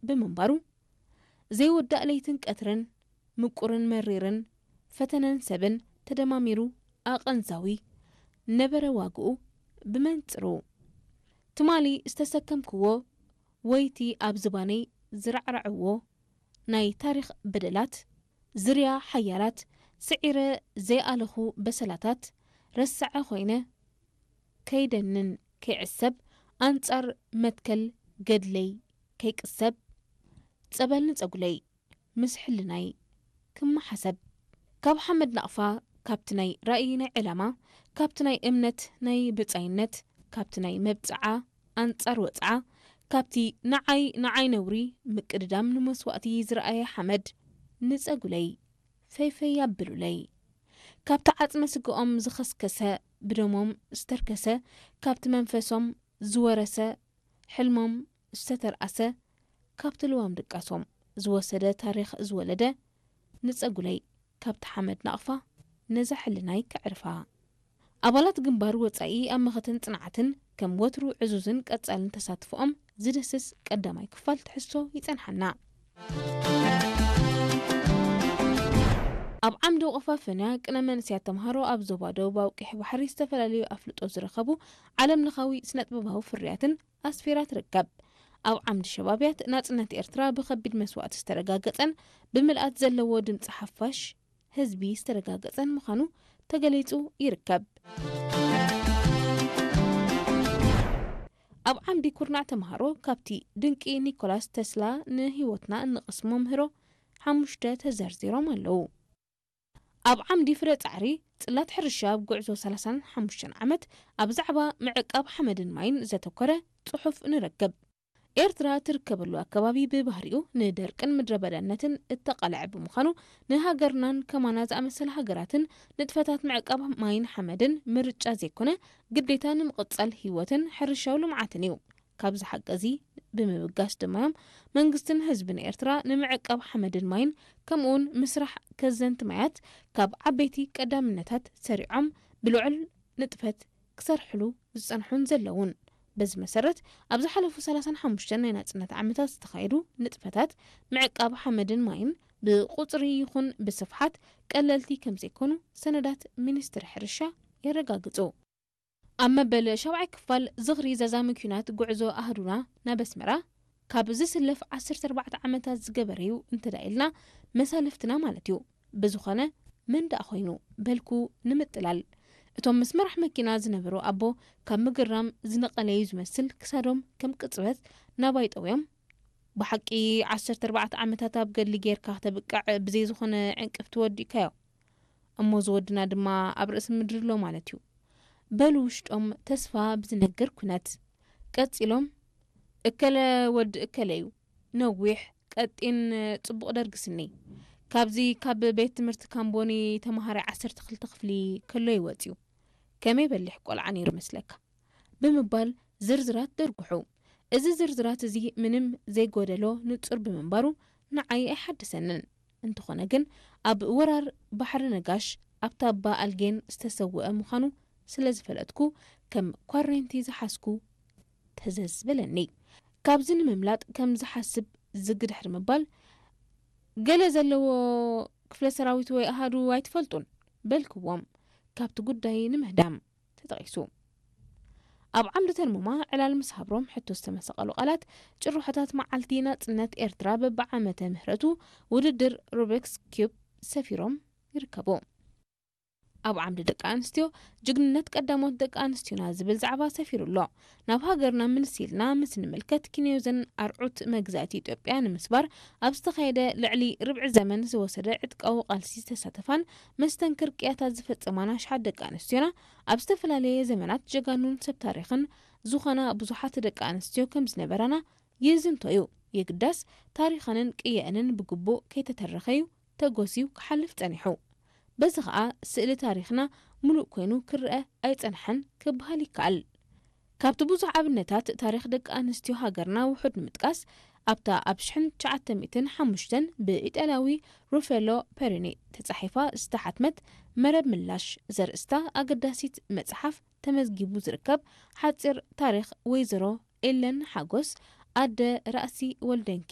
ብምንባሩ፣ ዘይወዳእ ለይትን ቀትርን፣ ምቁርን መሪርን፣ ፈተነን ሰብን ተደማሚሩ ኣቐንዛዊ ነበረ ዋግኡ ብመንጽሩ። ትማሊ ዝተሰከምክዎ ወይቲ ኣብ ዝባነይ ዝራዕራዕዎ ናይ ታሪኽ በደላት፣ ዝርያ ሓያላት ስዒረ ዘይኣለኹ በሰላታት፣ ረሳዐ ኮይነ ከይደንን ከይዕሰብ፣ ኣንጻር መትከል ገድለይ ከይቅሰብ፣ ጸበል ንጸጉለይ ምስ ሕልናይ ክመሓሰብ። ካብ ሓመድ ናቕፋ፣ ካብቲ ናይ ራእይ ናይ ዕላማ፣ ካብቲ ናይ እምነት ናይ ብጻይነት፣ ካብቲ ናይ መብጽዓ ኣንጻር ወጽዓ፣ ካብቲ ንዓይ ንዓይ ነውሪ ምቅድዳም ንመስዋእቲ ዝረኣየ ሓመድ ንጸጉለይ ፈይፈይ ኣብሉለይ። ካብቲ ዓጽመ ስግኦም ዝኸስከሰ፣ ብደሞም ዝተርከሰ፣ ካብቲ መንፈሶም ዝወረሰ፣ ሕልሞም ዝተተርኣሰ፣ ካብቲ ልዋም ድቃሶም ዝወሰደ ታሪኽ ዝወለደ ንጸጉለይ ካብቲ ሓመድ ናቕፋ ነዛ ሕልናይ ከዕርፋ። ኣባላት ግንባር ወጻኢ ኣብ መኸተን ጽንዓትን ከም ወትሩ ዕዙዝን ቀጻልን ተሳትፎኦም ዝድህስስ ቀዳማይ ክፋል ትሕዝቶ ይጸንሓና። ኣብ ዓምዲ ቆፋ ፈንያ ቅነ መንእሰያት ተምሃሮ ኣብ ዞባ ደቡባዊ ቀይሕ ባሕሪ ዝተፈላለዩ ኣፍልጦ ዝረኸቡ ዓለም ለኻዊ ስነጥበባዊ ፍርያትን ኣስፊራ ትርከብ። ኣብ ዓምዲ ሸባብያት ናጽነት ኤርትራ ብኸቢድ መስዋእቲ ዝተረጋገጸን ብምልኣት ዘለዎ ድምጺ ሓፋሽ ህዝቢ ዝተረጋገጸን ምዃኑ ተገሊጹ ይርከብ። ኣብ ዓምዲ ኩርናዕ ተምሃሮ ካብቲ ድንቂ ኒኮላስ ተስላ ንህይወትና እንቐስሞ ምህሮ ሓሙሽተ ተዘርዚሮም ኣለዉ። ኣብ ዓምዲ ፍረ ጻዕሪ ጽላት ሕርሻ ኣብ ጉዕዞ ሰላሳን ሓሙሽተን ዓመት ኣብ ዛዕባ ምዕቃብ ሓመድን ማይን ዘተኮረ ጽሑፍ ንረክብ። ኤርትራ ትርከበሉ ኣከባቢ ብባህሪኡ ንደርቅን ምድረ በዳነትን እተቓልዐ ብምዃኑ፣ ንሃገርናን ከማና ዝኣመሰላ ሃገራትን ንጥፈታት ምዕቃብ ማይን ሓመድን ምርጫ ዘይኮነ ግዴታ ንምቕጻል ህይወትን ሕርሻዊ ልምዓትን እዩ። ካብዚ ሓቂ እዚ ብምብጋስ ድማ እዮም መንግስትን ህዝብን ኤርትራ ንምዕቃብ ሓመድን ማይን ከምኡውን ምስራሕ ከዘንቲ ማያት ካብ ዓበይቲ ቀዳምነታት ሰሪዖም ብልዑል ንጥፈት ክሰርሕሉ ዝጸንሑን ዘለዉን። በዚ መሰረት፣ ኣብ ዝሓለፉ ሰላሳን ሓሙሽተን ናይ ናጽነት ዓመታት ዝተኻየዱ ንጥፈታት ምዕቃብ ሓመድን ማይን ብቁጽሪ ይኹን ብስፍሓት ቀለልቲ ከም ዘይኮኑ ሰነዳት ሚኒስትሪ ሕርሻ የረጋግጹ። ኣብ መበል ሻብዓይ ክፋል ዝኽሪ ዘዛሚ ኲናት ጉዕዞ ኣህዱና ናብ ኣስመራ ካብ ዝስለፍ ዓሰርተ ኣርባዕተ ዓመታት ዝገበረ እዩ እንተ ኢልና መሳልፍትና ማለት እዩ። ብዝኾነ መን ደኣ ኮይኑ በልኩ ንምጥላል። እቶም ምስ መራሕ መኪና ዝነበሩ ኣቦ ካብ ምግርራም ዝነቐለዩ ዝመስል ክሳዶም ከም ቅጽበት ናባይ ጠውዮም። ብሓቂ ዓሰርተ ኣርባዕተ ዓመታት ኣብ ገድሊ ጌርካ ክተብቅዕ ብዘይ ዝኾነ ዕንቅፍቲ ወዲእካዮ። እሞ እዚ ወድና ድማ ኣብ ርእሲ ምድሪ ኣሎ ማለት እዩ። በሉ ውሽጦም ተስፋ ብዝነግር ኩነት። ቀጺሎም፣ እከለ ወዲ እከለ እዩ። ነዊሕ፣ ቀጢን፣ ጽቡቕ ደርጊ ስኒ። ካብዚ ካብ ቤት ትምህርቲ ካምቦኒ ተመሃራይ ዓሰርተ ክልተ ክፍሊ ከሎ እዩ ወጺኡ። ከመይ በሊሕ ቆልዓ ነይሩ መስለካ? ብምባል ዝርዝራት ደርጉሑ። እዚ ዝርዝራት እዚ ምንም ዘይጎደሎ ንጹር ብምንባሩ ንዓይ ኣይሓድሰንን። እንተኾነ ግን ኣብ ወራር ባሕሪ ነጋሽ ኣብ ታባ ኣልጌን ዝተሰወአ ምዃኑ ስለ ዝፈለጥኩ ከም ኳሬንቲ ዝሓዝኩ ተዘዝ በለኒ። ካብዚ ንምምላጥ ከም ዝሓስብ ዝግ ድሕሪ ምባል፣ "ገለ ዘለዎ ክፍለ ሰራዊት ወይ ኣሃዱ ኣይትፈልጡን?" በልክዎም፣ ካብቲ ጉዳይ ንምህዳም ተጠቒሱ። ኣብ ዓምዲ ተርሙማ ዕላል ምስ ሃብሮም ሕቶ ዝተመሰቐሉ ቃላት፣ ጭርሖታት መዓልቲ ናጽነት ኤርትራ በብዓመተ ምህረቱ ውድድር ሩቢክስ ኪዩብ ሰፊሮም ይርከቡ። ኣብ ዓምዲ ደቂ ኣንስትዮ፣ ጅግንነት ቀዳሞት ደቂ ኣንስትዮና ዝብል ዛዕባ ሰፊሩ ኣሎ። ናብ ሃገርና ምልስ ኢልና ምስ ንምልከት፣ ክንዮዘን ኣርዑት መግዛእቲ ኢትዮጵያ ንምስባር ኣብ ዝተኻየደ ልዕሊ ርብዒ ዘመን ዝወሰደ ዕጥቃዊ ቃልሲ ዝተሳተፋን መስተንክር ቅያታት ዝፈጸማን ኣሽሓት ደቂ ኣንስትዮና፣ ኣብ ዝተፈላለየ ዘመናት ጀጋኑን ሰብ ታሪኽን ዝኾና ብዙሓት ደቂ ኣንስትዮ ከም ዝነበራና ይዝንቶ እዩ። የግዳስ፣ ታሪኸንን ቅየአንን ብግቡእ ከይተተረኸ እዩ ተጎስዩ ክሓልፍ ጸኒሑ። በዚ ኸኣ ስእሊ ታሪኽና ምሉእ ኮይኑ ክረአ ኣይጸንሐን ክበሃል ይከኣል። ካብቲ ብዙሕ ኣብነታት ታሪኽ ደቂ ኣንስትዮ ሃገርና ውሑድ ንምጥቃስ፣ ኣብታ ኣብ ሽሕን ትሽዓተ ሚእትን ሓሙሽተን ብኢጣልያዊ ሩፌሎ ፔሪኒ ተጻሒፋ ዝተሓትመት መረብ ምላሽ ዘርእስታ ኣገዳሲት መጽሓፍ ተመዝጊቡ ዝርከብ ሓጺር ታሪኽ ወይዘሮ ኤለን ሓጎስ፣ ኣደ ራእሲ ወልደንኪኤል፣